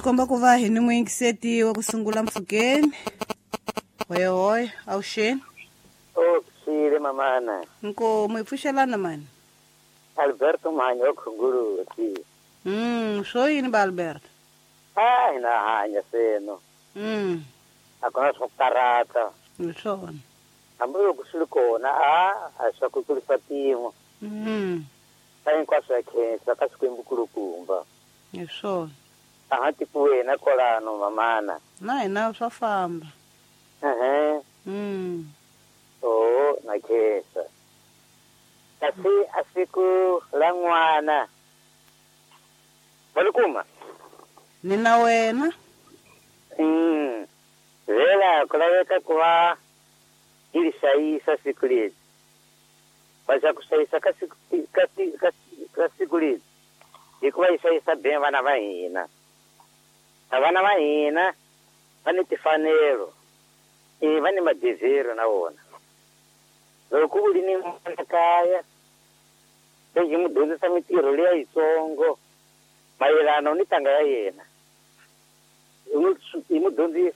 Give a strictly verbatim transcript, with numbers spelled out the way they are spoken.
Swi komba ku va hi ni muyingiseti wa ku sungula mpfhukeni. Hoyohoyo, avuxeni. O pfile mamana. Nkomu hi pfuxelana mani. Alberto Mhanyo wa Khunguluti. Mm, swo yini ba Alberto? A hi na hanya seno. Mm, A ku na swo karata. Hi swona. Hambi loko swi ri kona a a swa ku tlurisa mpimo. Mm, Ka hinkwaswo ya khensa ka Xikwembu kulukumba. Hi swona. A ha tikuwena kwalano mamana. Na hina swa famba. Ehe. Mm. O na khensa. Kasi a siku la n'wana. Va li kuma? Ni na wena. Mm. Vela ku laveka ku va yi li hlayisa siku leri. Va xa ku hlayisa ka siku ka ka ka siku leri hikuva yi hlayisa be vana va hina. A vana va hina va ni timfanelo, e va ni madevhero na vona. Loko u ri ni n'wana kaya lexi n'wi dyondzisa mintirho liya yitsongo mayelana ni ntanga ya yena, hi n'wi hi n'wi dyondzisa.